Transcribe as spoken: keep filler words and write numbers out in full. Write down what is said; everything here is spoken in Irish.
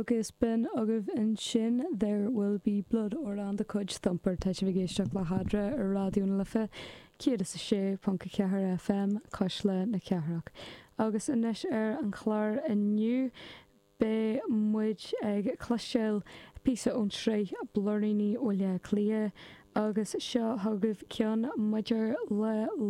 Agus b'in agaibh ansin There Will Be Blood amhrán de chuid Thumper tá sibh ag éisteacht le hEadra ar Raidió na Life céad is a sé ponc a ceathair FM Cuisle na Cathrach. Agus anois ar an chlár inniu beidh muid ag cloisteáil píosa ón tsraith Blúiríní Bhaile Átha Cliath agus seo chugaibh ceann maidir le